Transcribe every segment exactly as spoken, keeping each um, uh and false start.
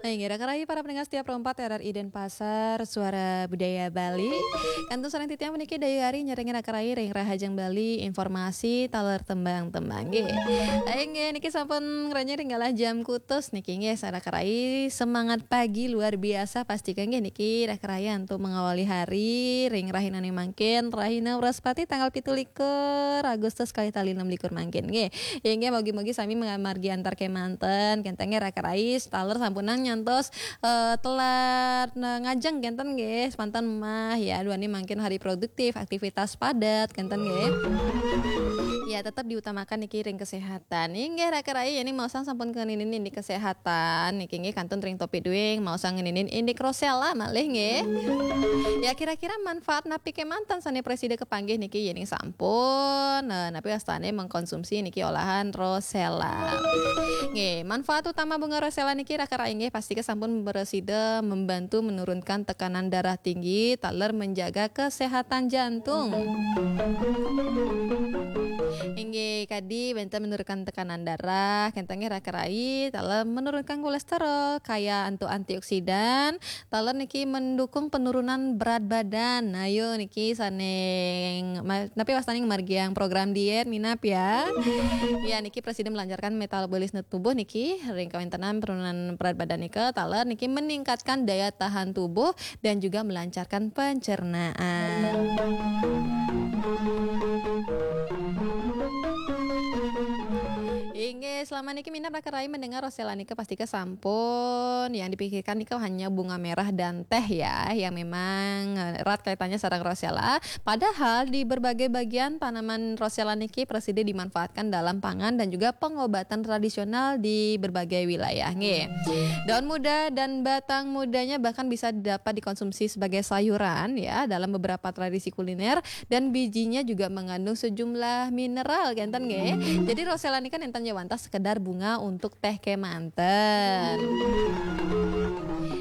Inggih, raka rayi para pendengar setia Pro empat R R I Denpasar, Suara Budaya Bali. Kantun sareng titiang puniki Dayu Ari nyarengin raka rayi ring Rahajeng Bali, informasi taler tembang-tembang nggih. Inggih, niki sampun ngranjing ring galah jam kutus niki nggih, sareng raka rayi semangat pagi luar biasa pastika nggih niki raka rayi antuk mengawali hari ring rahinane mangkin, rahina Wraspati tanggal pitu likur Agustus kalih tali enam likur mangkin nggih. Inggih, mugi-mugi sami margi antar kemanten, kenten nggih raka rayi, taler sampunang nyantos eh, telat, nah, ngajeng kenten nggih, semanten mah ya, duaning mangkin hari produktif, aktivitas padat kenten nggih. Ya, tetap diutamakan niki ring kesehatan. Inggih raka rayi, ini maosang sampun ngeninin indik kesehatan niki nggih, kantun ring Topi Duing maosang ngeninin indik Rosella malih nggih. Ya, kira-kira manfaat napi kemanten sane prasida kepanggih niki yening sampun, eh, napi wastane mengkonsumsi niki olahan Rosella. Nggih, manfaat utama bunga Rosella niki raka rayi nggih, pastika sampun prasida membantu menurunkan tekanan darah tinggi, taler menjaga kesehatan jantung. Inggih, kadi wenten menurunkan tekanan darah, kenten nggih raka rayi, taler menurunkan kolesterol, kaya antuk antioksidan, taler niki mendukung penurunan berat badan. Ayo niki sane ma-, napi wastane ngamargiang program diet minab ya. Ya, niki prasida melancarkan metabolisme tubuh niki, ring kawentenan penurunan berat badan nika, taler niki meningkatkan daya tahan tubuh dan juga melancarkan pencernaan. Inggih, selama niki minab raka rayi mendengar Rosella nika pastika sampun. Yang dipikirkan nika hanya bunga merah dan teh ya, yang memang, eh, erat kaitannya sareng Rosella. Padahal di berbagai bagian tanaman Rosella niki prasida dimanfaatkan dalam pangan dan juga pengobatan tradisional di berbagai wilayah nggih. Daun muda dan batang mudanya bahkan bisa dapat dikonsumsi sebagai sayuran ya dalam beberapa tradisi kuliner, dan bijinya juga mengandung sejumlah mineral kenten nggih. Jadi Rosella nika nenten ja wantah sekedar bunga untuk teh kemanten.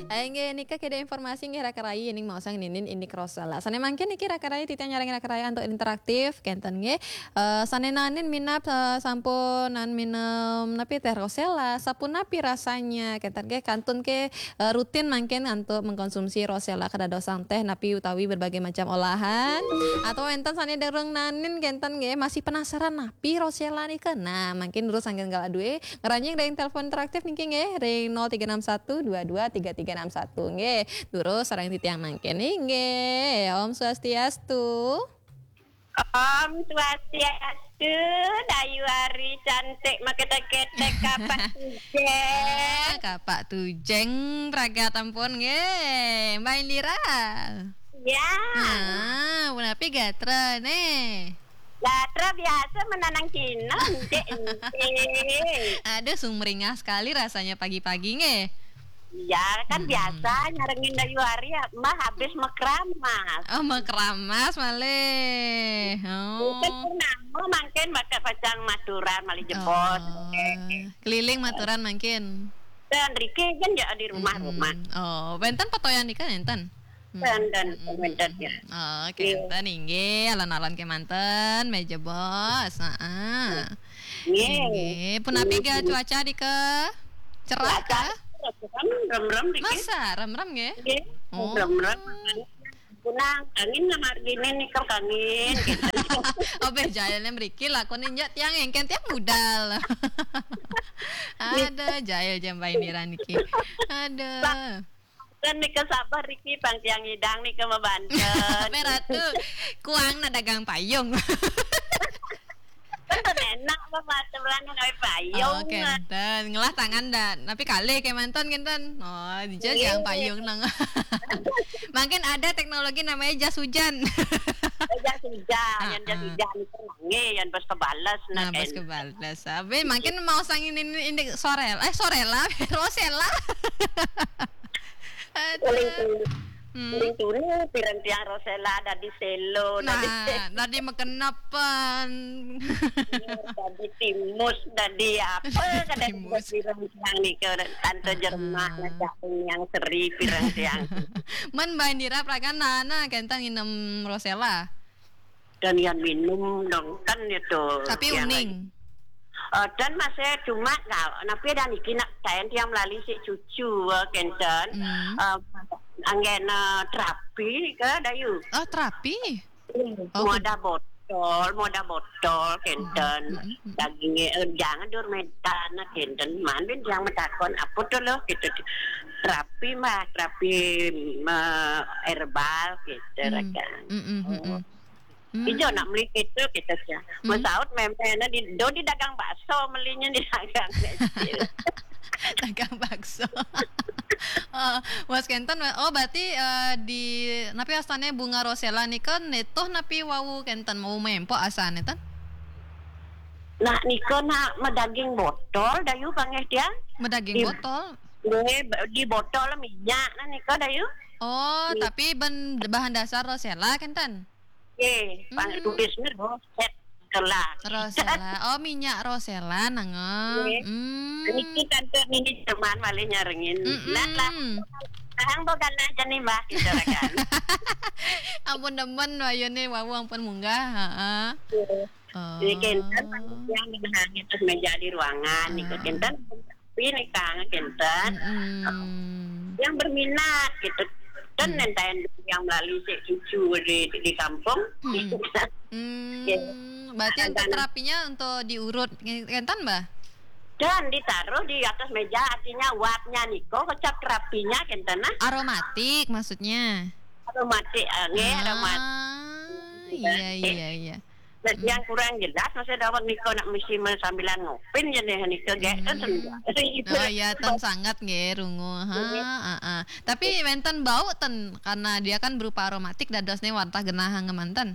Inggih, nika keda informasi nggih raka rayi yening maosang ngenin indik Rosella. Sane mangkin niki raka rayi titiang nyarengin raka rayi antuk interaktif kenten nggih. Eh, sane nanin minab, eh, sampun nan minum napi teh Rosella, sapunapi rasanya kenten nggih, kantun ke eh, rutin mangkin antuk mengkonsumsi Rosella kadadosang teh napi utawi berbagai macam olahan, atau enten sane durung nanin kenten nggih, masih penasaran napi Rosella nika? Nah, mangkin durus sangkan galah duwe ngranjing ring telepon interaktif niki nggih, ring nol tiga enam satu dua dua tiga tiga enam satu nggih. Durus sareng titiang mangkin nggih. Om Swastiastu. Om Swastiastu, Dayu Ari cantik, maketek-ketek kapak tujeng. Ah, kapak tujeng pragat ampun nggih, Mbak Indira. Ya. Ah, punapi gatra ne? Gatra biasa menanang kinong, Cik, Cik. Aduh, sumringah sekali rasanya pagi-pagi nggih. Iya, kan biasa nyarengin Dayu Ari, ya, Mbah habis mekeramas. Oh, mekeramas malih. Oh. Mungkin purnama mangkin bakal pacang maturan malih jebos. Oh. Keliling maturan mangkin. Dan riki kan ya di rumah-rumah. Oh, wenten petoyan nika enten? Dan, dan, dan, ya. Oh, kenten inggih, alon-alon kemanten, malih jebos. Heeh. Nggih. Nggih, punapi ga cuaca dika? Cerah kah? Rem-rem dikit. Masa rem-rem nggih? Nggih, rem-rem. Punang, angin lah margine nika angin, gitu. Oh, beh, jailne mriki lakune nyak tiang engken tiang budal. Ada jail jam bain niki. Ada. Kan nika sabar riki pang tiang ngidang nika mabanten. Meratu, kuangna dagang payung. Kan enak apa mata belang gawe payung. Oh, kenten. Ngelah tangan dah. Tapi kalih kemanten kenten. Oh, dija dagang payung nang. Mungkin ada teknologi namanya jas hujan. Jas hujan, yang jas hujan itu nangge, yang pas kebales nah, pas kebales. Abe, mungkin mau sang ini, ini sore, eh, sore lah, Rosella. Aduh. Paling tulu, hmm, paling tulu pirang tiang Rosella dadi selo, nah, dadi makenepan. Dadi timus, dadi apa, kadang timus. Pirang tiang nika, tante jerman, ngajak yang seri pirang tiang. Men Mbak Indira prakan nana kenten nginem Rosella. Dan yang minum dong, kan itu. Tapi yang uning. Eh, ten masih cuma kal-, napi dah niki nak taén tiang melali si cucu, eh, kenten. Hmm. Eh, anggena terapi nika, Dayu. Oh, terapi? Hmm, oh, muadah botol, muadah botol, kenten. Hmm, hmm, hmm, hmm. Dagingnya, eh, jangan dur medan, kenten. Man bin tiang matakon, apa tu loh, gitu. Terapi mah, terapi, eh, herbal, gitu, hmm, rakan. Hmm, hmm, hmm, hmm. Hmm. Ijo nak meli kita, kita sia. Hmm. Masaut memang di, do di dagang bakso melinya di dagang kecil. Dagang bakso. Oh, Mas Kenten, oh, berarti, eh, di, napi asané bunga rosella nika nituh napi wau Kenten, wau mempok asané ten? Nah, nika nak madaging botol, Dayu panggih tiang. Madaging di, botol? Nggih, di botol minyak nah nika, Dayu. Oh, nggih. Tapi ben bahan dasar rosella Kenten? Nggih, pang-, hmm, tulisnya Rosella. Rosella. Oh, minyak rosella, nangong. Nggih. Hmm. Niki kantor niki teman malih nyarengin. Mm-mm. Nah, lah. Tahang bo ganah jani, Mbah, gitu, rakan. Ampun demen, wayune wau ampun munggah, heeh. Nggih. Oh. Niki kenten, yang genahang atas meja di ruangan, niku, ah, kenten. Tapi nika kenten. Mm-mm. Yang berminat gitu. Dan, hmm, nentaen yang melalui si cucu di, di kampung. Hmm. Hmm, ya. Berarti untuk terapinya untuk diurut, kenten, Mbah? Dan ditaruh di atas meja, artinya uapnya niko, kecap terapinya kenten nah. Aromatik maksudnya? Aromatik, eh, nggih, ah, aromatik. Iya, iya, iya. Nah, hmm, yang kurang jelas, maksudnya dawet niko nak mesti sambilan ngopin ya deh niko, gek, kan, hmm, sendiri. Oh iya, ten sangat nggih, rungu. Ha, iya, ha, ha. Tapi wenten bau ten, karena dia kan berupa aromatik, dadosne wantah genah ngemanten.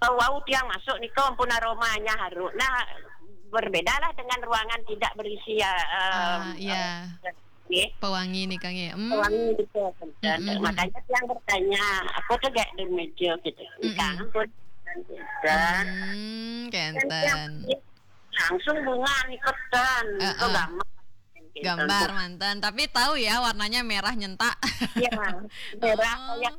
Oh, wau tiang masuk niko ampun aromanya harum. Nah, berbedalah dengan ruangan tidak berisi, ya, em, ah, iya, eh, nggih. Pewangi nika nggih. Hmm. Pewangi nika, kenten. Mm-mm. Makanya tiang bertanya, apa tu gek di meja gitu. Mm-mm. Kenten. Hmm, kenten. Langsung bunga nika ten, heeh, itu gambar. Gambar manten, tapi tahu ya warnanya merah nyentak. Ya, merah, oh, kayak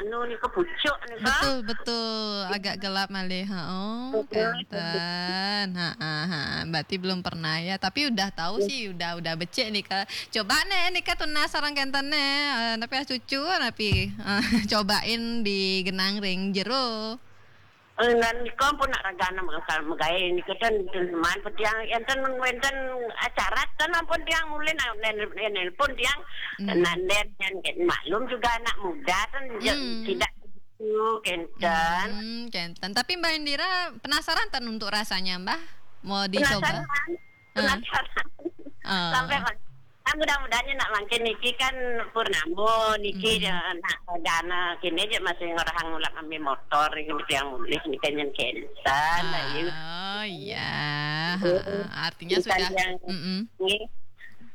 anu nika pucuk nika. Betul, betul. Agak gelap malih. Ha, oh, betul, kenten. Ha, ha, ha. Berarti belum pernah ya, tapi udah tahu, iya, sih, udah, udah becik nika. Coba nih, nika tunas sareng kenten nih. Eh, tapi ah cucu, tapi, eh, cobain di genang ring jero. Eh, dan nika ampun nak ragana mega-, megai nika ten, ten man pun tiang enten wenten acara ten ampun tiang ulin, ah, nel-, nelpon tiang, hmm, nanden, dan maklum juga anak muda ten je-, hmm, tidak begitu kenten. Hmm, kenten. Tapi Mbah Indira penasaran ten untuk rasanya, Mbah? Mau dicoba? Penasaran. Ah. Penasaran. Ah. Sampai ma-, ah, mudah-mudahan nak mangkin niki kan purnama niki, mm-mm, ya, nak dana kini aja masih ngorahang ulak ambil motor ini yang mulih niki nyen kenten, ah, ayu. Oh, iya. Nggih. Ha, artinya urusan sudah yang, mm-mm, nggih.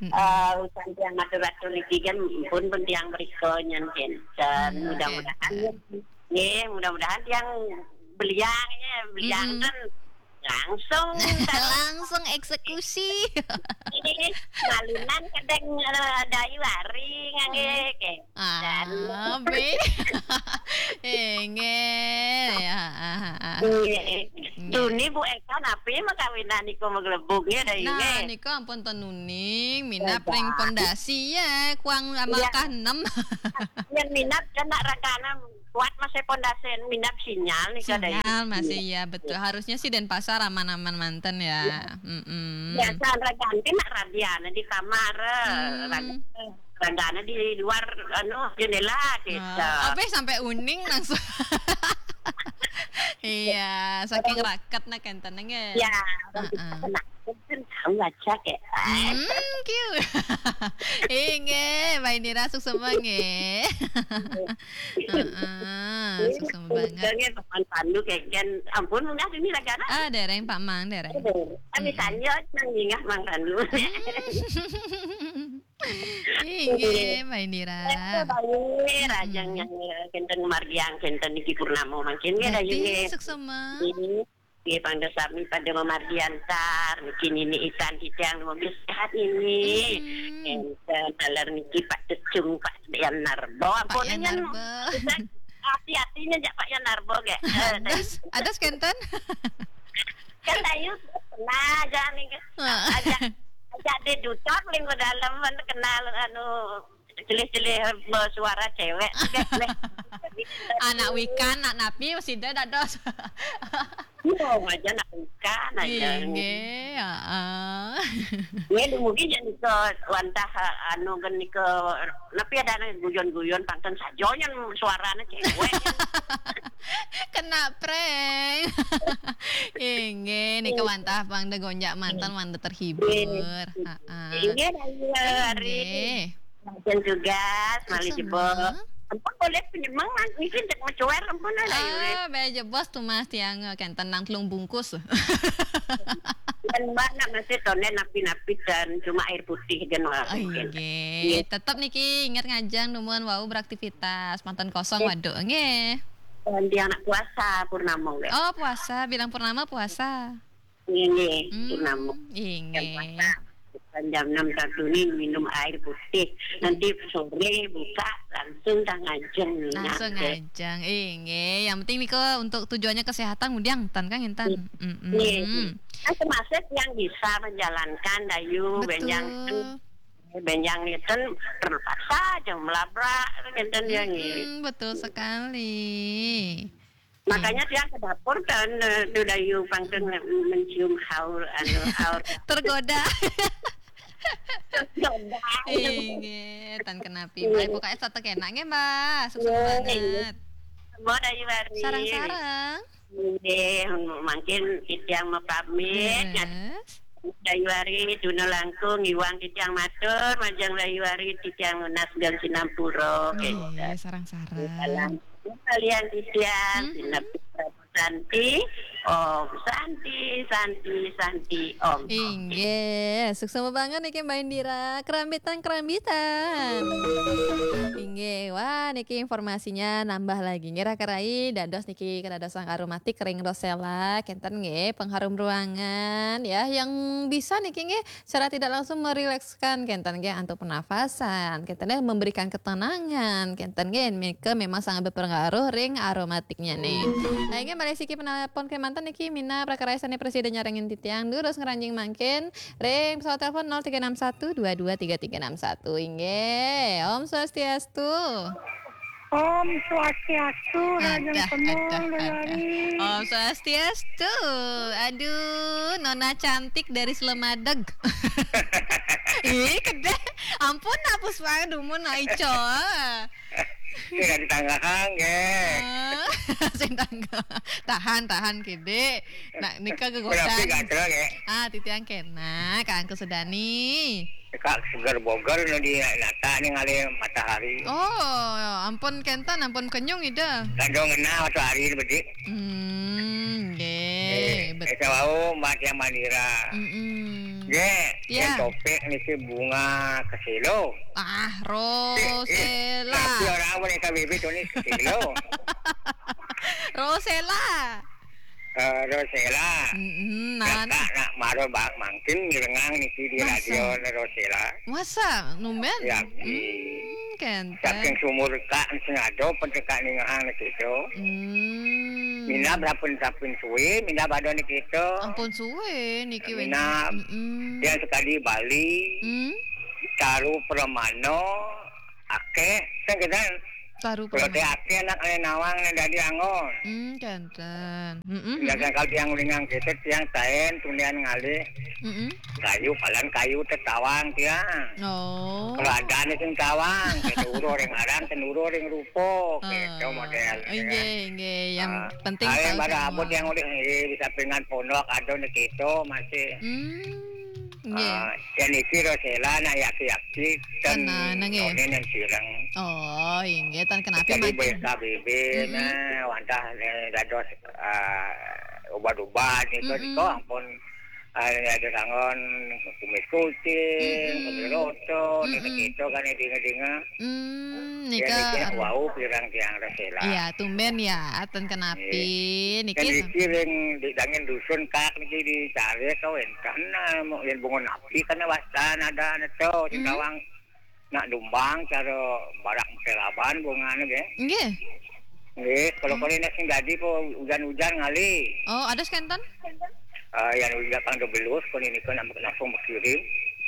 Mm-mm. Eh, urusan yang atur-atur niki kan pun, pun tiang beriko nyen kenten. Hmm, mudah-mudahan, kenten, ya. Nggih, mudah-mudahan tiang beliang ya, beliang, mm-mm, kan langsung langsung eksekusi. Ini malunan kadang, eh, dayu hari ngangge, hmm, ke. Ah, dan be. Eh, nggih. Ya, ah, ah, ah. Nggih. Nggih. Tuni Bu Eka napi makawinan niku maglebug ya, dayu, nah, nggih. Niku ampun ten nuning, minap ring pondasi ya, kuang, iya, amal kaenem. Yang minap kena ragana kuat masih pondasi, minap sinyal nih, sinyal kadang masih, iya, betul. Iya. Harusnya sih Denpasar aman-aman manten ya. Iya. Mm-mm. Biasa ragana nak radian di kamar, eh, hmm, ragana, ragana di luar, anu, jendela gitu. Oh, apa sampai uning langsung. Iya, saking raket nak kenten nggih. Ya, heeh. Kan tahu aja, kayak. Hmm, cute. Inggih, Mbak Indira suksma nggih. Heeh, suksma banget. Nggih, Pak Man Pandu, kayak, kan, ampun, munggah sini lagi, anak. Ah, dereng, Pak Mang, dereng. Aduh, kami, mm-mm, tanya, nang ingat Mang Pandu. Hmm. Inggih, Mbak Indira. Eh, baik, mm-mm, rajang yang, eh, kenten margiang, kenten niki purnama mangkin, nggih, dah, berarti, nggih, suksma. Ini. Nggih, pangda sami pada mamargi antar. Niki nini itan titiang mobil sehat ini. Hmm. Enten taler niki Pak Cecung, Pak Yan Narbo. Pak Yan Narbo. Ampun, hati-hatinya jak Pak Yan Narbo, gek. Eh, adas, adas kenten. Kan Dayu pernah aja nih. Heeh. Ajak, ajak dia dutor ling ke dalam, kan kenal anu, celih-celih bersuara cewek. Anak wikan, anak napi, sida dados. Iya, aja nak wikan aja. Inggih, heeh. Ya, mungkin jadi ke wantah, anu, kan ke, napi ada anak guyon-guyon, pantun saja, nyen suaranya cewek. Kena prank. Inggih, nika wantah pang da gonjak mantan, wantah terhibur. Heeh. Inggih, Dayu Ari. Inggih. Lajeng tugas, malih jebos. Ampun, boleh penyemeng, niki cek mencuer, ampun, Dayu Ari. Ah, baya jebos tuh, Mas, tiang, kenten nang telung bungkus. Dan Mbak nak masih tonen napi-napi dan cuma air putih kan, Mbak, mungkin. Inggih. Iya. Tetep niki ingat ngajeng dumun wau beraktivitas, manten kosong waduk, nggih. Dan dia anak puasa, purnama, nggih. Oh, puasa, bilang purnama puasa. Inggih, purnama. Inggih. Jam puasa. Bukan jam enam satu ini minum air putih. Nanti sore buka langsung tah ngajeng. Langsung ngajeng. Inggih, yang penting nika untuk tujuannya kesehatan, ngudiang tan kan, intan. Nggih. Nah, termasuk yang bisa menjalankan Dayu, betul. Benjang, benjang ngeten terpaksa aja melabrak, ngeten ya, nggih. Mm-mm, betul sekali. Makanya tiang ke dapur kan, eh, tu Dayu pangkeng mencium haur, anu, haur. Tergoda. Tergoda. Inggih, tan kenapi. Iya. Mbak, pokoknya satu kena nggih, Mbak. Susun banget. Mbak Dayu Ari. Sarang-sarang. Nggih, mungkin titiang mapamit. Yes. Dayu Ari, duna langkung, iwang titiang matur, majeng Dayu Ari, titiang nunas dan sinampura. Nggih, sarang-sarang. Salam. Kalian titiang, hmm, sinep Santi, Om Santi, Santi, Santi, Om. Inggih, suksma banget niki Mbak Indira. Kerambitan, kerambitan. Inggih, wah niki informasinya nambah lagi. Nggih, raka rai, dados niki kedadosan aromatik ring Rosella, kenten nggih, pengharum ruangan ya, yang bisa niki nggih secara tidak langsung merilekskan kenten nggih antuk pernafasan, kenten nggih memberikan ketenangan, kenten nggih nika memang sangat berpengaruh ring aromatiknya nih. Nah, inggih malih siki penelpon kemanten niki minab raka rai sane prasida nyarengin titiang, durus ngranjing mangkin ring pesawat telepon nol tiga enam satu dua dua tiga tiga enam satu. Inggih, Om Swastiastu. Om Swastiastu, Raden Adah, Semul, adah, Dayu adah. Ari. Om Swastiastu. Aduh, Nona cantik dari Slemadeg. Ih, kedeh. Ampun, hapus banget dumun, nah, Ico. Sing ditanggahan, nggih. Ah, sing tangga. Tahan, tahan, kede. Nah, nika gegodan. Menapi gatel, nggih. Ah, titiang kena, Kang Kusudani. Kak seger boger nu di nata ningali matahari. Oh, ampun kenten, ampun kenyung ida. Kado ngenah matahari bedik. Hmm, nggih, eh, betul. Saya wau Mbak Tiang Mandira. Mm-mm. Nggih, ya. Yang topik niki bunga keselo. Ah, eh, eh, Rosella. Tapi orang apa nih K B B tuh nih keselo? Rosella. Eh, Rosella. Mm-mm, nan. Kakak nak maro bak mangkin ngirengang niki di masa? Radio Rosella. Masa? Numben? Ya, hmm, kenten. Saking sumur kak sing ada, pen kak ningehang niki itu. Hmm. Minab rapun-rapun suwe, minab ada niki itu. Ampun suwe, niki. Minab. Mm-mm. Yang sekali Bali, hmm? Taru Pramana, akeh, kan kita. Taru Pramana. Kalau akeh anak ane nawang ane dadi anggon. Hmm, kenten. Mm-mm, mm-mm. Kalau tiang ulingang kita, tiang taen, tundian ngalih. Mm-mm. Kayu, palan kayu tetawang tiang. Oh. Kalau ada nih sing tawang, kita uruh ring aran, ten uruh ring rupa, gitu model. Inggih, inggih. Yang penting tahu semua. Yang pada abot yang udah, eh, bisa pengan pondok, ada nih kita masih. Hmm, inggih. Ah, yang iki Rosella, nah, yaki-yaki, ten none yang sireng. Oh, inggih, tan kenapi. Jadi mangkin. Besa bebe, mm-mm, nah, wantah, eh, dados, ah, ubat-ubat, gitu, mm-mm, niko, ampun. Ada, ada sangon kumis kucing, mm-mm, kumis roto, mm-mm, gitu kan, ya, dinga-dinga. Hmm, ya, nika niki ar- wau pirang tiang Rosella. Iya, tumben ya, ten kenapi. Iya. Niki kan niki ring di dangin dusun kak niki dicari kau enten, ah, mau yang bungun api kan wastan ada neto, sing, hmm, tawang. Nak dumbang cara barak mekelaban bungane nggih. Nggih. Nggih, kalau, hmm, kalau ini sing dadi po hujan-hujan ngalih. Oh, ada kenten? Eh, yang udah pang belus, kon ini kan langsung berkirim.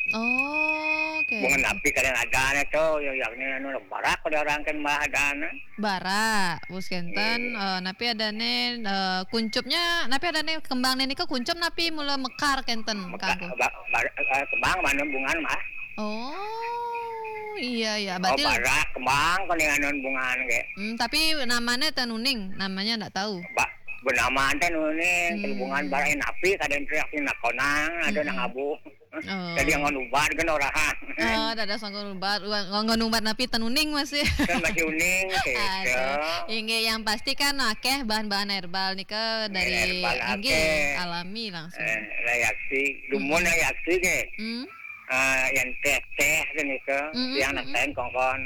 Oh, oke. Bunga napi kadang ada na to, yang yang ini anu barak pada orang kan mah ada na. Bara, bus kenten, eh, napi ada ne, eh, kuncupnya, napi ada ne kembang ne nika kuncup napi mula mekar kenten, Meka, kangku. ba, ba, eh, kembang mana bunga mah. Oh, iya, iya. Oh, Berarti, barak kembang kon yang anu bunga ke. Hmm, tapi namanya tenuning, namanya ndak tahu. Ba, bernama ante nuning, Hmm. Bunga barak napi kadang teriak sing nakonang, ada Mm-mm. nang abu. Oh. Jadi yang ubat kan orang. Oh, ada sangkun ubat, nggon ubat napi tenuning masih. Kan masih uning gitu. Aduh. Inggih, yang pasti kan akeh bahan-bahan herbal nika dari Herbal inggih akeh. Alami langsung. Eh, lah yaksi, dumun lah yaksi ke. Hmm. Ah, yang teh-teh kan itu, Mm-mm, yang mm-mm. Nakain kongkon.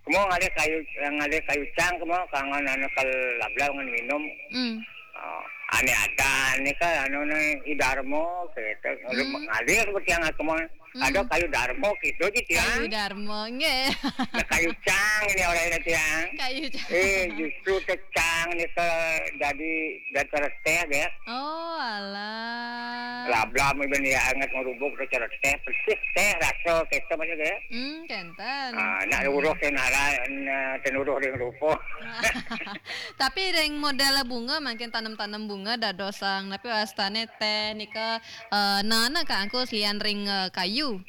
Kamu ngalih kayu, ngalih kayu cang, kamu kangen anu kal lablau ngan minum. Hmm. Oh, ane ada, ane kan anu ne idarmo gitu. Hmm. Ngalih seperti yang aku mau. Hmm. Ada kayu darmo gitu gitu ya. Kayu Darmo, nggih. Nah, kayu cang ini orang ini tiang. Kayu Darmo. Eh, justru teh cang ni ke jadi dan terus teh ya. Oh, alah. Lablam iban ya anget ngerubuk tu cara teh persis teh rasa kita macam tu. Hmm, kenten. Ah, nak uruh ke nara, na, tenuruh ring rupa. Tapi ring model bunga, mungkin tanam-tanam bunga dadosang, tapi wastane teh nika, eh, nana kangku selian ring, eh, kayu.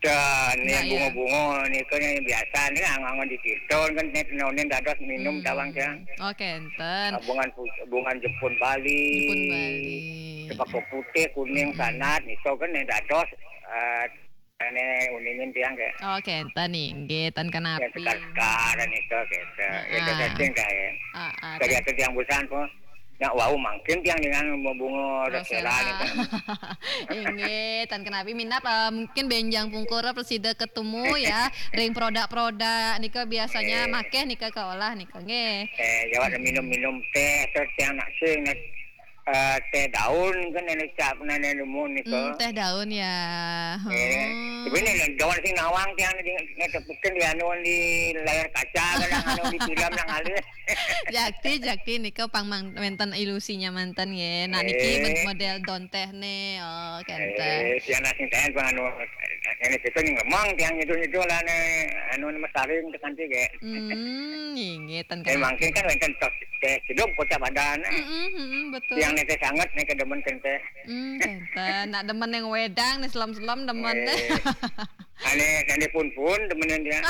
Dan Nah, yang iya. bunga-bunga ni kan yang biasa ni angan-angan di situ kan net nonin dados minum Hmm. tawang kan. Oh, kenten. Ah, bungan pu- bungan jepun Bali. Jepun Bali. Cempaka putih, kuning, Hmm. sanat, itu kan yang dados eh, ane uningin tiang ke. Oh, kenten inggih, ten Yang kenapi. sekar-sekar dan itu gitu. Itu Ah. Setting kayak. Ah, ah, Dari itu tiang busan pun nak wau mangkin tiang dengan bunga Rosella. Rosella ni kan. Inggih, ten kenapi minap, eh, mungkin benjang pungkur presida ketemu ya, ring produk-produk nika biasanya Eh. makeh nika kaolah nika nggih. Eh, jawab minum-minum teh tu tiang nak sing nak eh, teh daun kan nenek cap nenek nemu ni ke. Hmm, teh daun ya. Eh, Hmm. sebenarnya daun sing nawang tiang di ngetepukin di anu di layar kaca kadang anu di film yang alih. Jakti, jakti nika pang mang- wenten ilusinya manten nggih. Nah, niki Eh. mod- model don teh ne. Oh, kenten. Eh, siang nasi teh pun anu ini kita ni lemang tiang itu itu lah ne anu ni masaring tekan tiga. Hmm, inggih ten Eh, mangkin kan wenten tok teh hidup kota badan. Mm-mm, mm-mm, betul. Yang ni teh sangat ni kedemen kan teh. Hmm, kenten. Nak demen yang wedang nih selam-selam demen. Eh, ane ane pun pun demenan dia.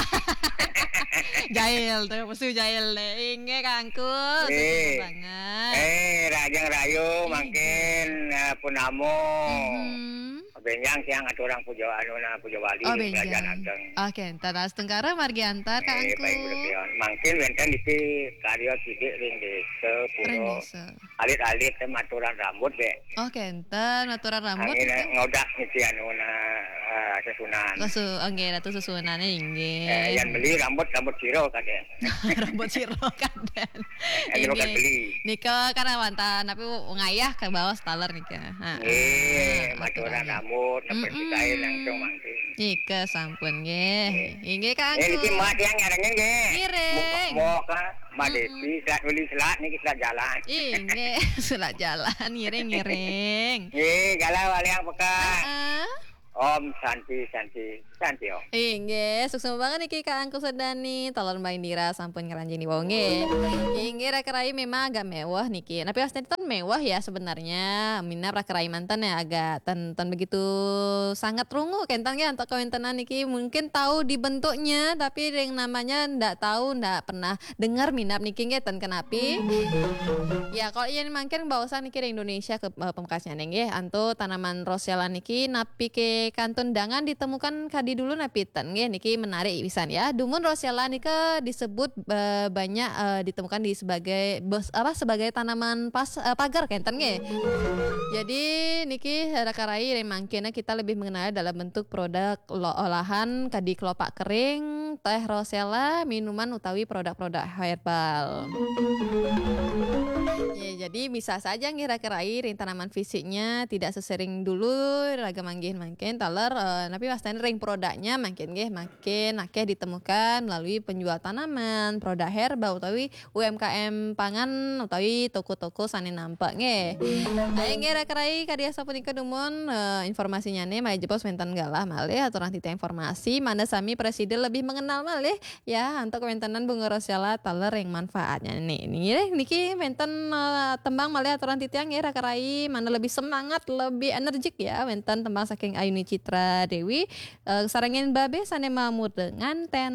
Jail tuh, musuh jail deh. Inggih kangku, Eh. Suka banget. Eh, rajang rayu Iya. mangkin eh, punamo. Mhm. Benjang siang aturan puja anu na puja wali Oh, di kerajaan benjang. ageng. Oke, ntar setengkara margi antar Eh, kangku. paling berkeon. Mangkin wenten di karya sidik ring desa Ring pura. desa. Alit-alit tem aturan rambut deh. Oke, enten aturan rambut. Angin Itu. Ngodak niki anu na eh, sesunan. Susu, oke, ratu susunannya inggih. Eh, yang beli rambut rambut siro kadeh. Rambut siro kadeh. Ini bukan Inggih. Beli. Nika kan wantah tapi ngayah ke bawah staler nika. Ha, Nggih, ha, aturan aturannya. rambut, Mm-mm. seperti saya langsung mangkin. Nika sampun nggih. Inggih kangku. Eh, niki mak yang ngarangin nggih. Ngiring. Mau ke Mbak Mm-mm. Desi, selat uli selat niki selat jalan. Inggih, sudah jalan ngiring-ngiring. Nggih, galau aliang peka. Heeh. Om Santi Santi Santi Om. Inggih, suksma banget niki Kak Angku Sedani, talon Mbak Indira sampun ngranjing di wonge. Inggih, raka rai memang agak mewah niki. Tapi asli ten mewah ya sebenarnya. Minap raka rai manten ya agak ten, ten begitu sangat rungu kenten ya untuk kawentenan niki. Mungkin tahu di bentuknya tapi yang namanya ndak tahu, ndak pernah dengar minap niki nggih ten kenapi. Ya, kalau iya mangkin baosan niki ring Indonesia ke eh, pemekasnya nggih. Antu tanaman rosella niki napi ke kantun dangan ditemukan kadi dulu napi ten nggih, niki menarik pisan ya. Dumun rosella nika disebut eh, banyak eh, ditemukan di sebagai bes- apa sebagai tanaman pas eh, pagar kenten nggih. Jadi niki raka rai ring mangkin kita lebih mengenal dalam bentuk produk lo- olahan kadi kelopak kering, teh rosella, minuman utawi produk-produk herbal. Ya, jadi bisa saja nggih raka rai ring tanaman fisiknya tidak sesering dulu raga manggih mangkin taler, eh, napi wastane ring produknya mangkin nggih makin akeh ditemukan melalui penjual tanaman, produk herba utawi U M K M pangan utawi toko-toko sane nampak nggih. Ayo nggih raka rai kadi asapunika dumun, eh, informasinyane malih jebos wenten galah malih aturan titiang informasi mangda sami prasida lebih mengenal malih ya antuk wentenan bunga rosella taler ring manfaatnya nih. Nggih, niki wenten, eh, tembang malih aturan titiang nggih raka rai mangda lebih semangat, lebih energik ya wenten tembang saking Ayuni Citra Dewi, eh, sarengin babe sane mamurda nganten.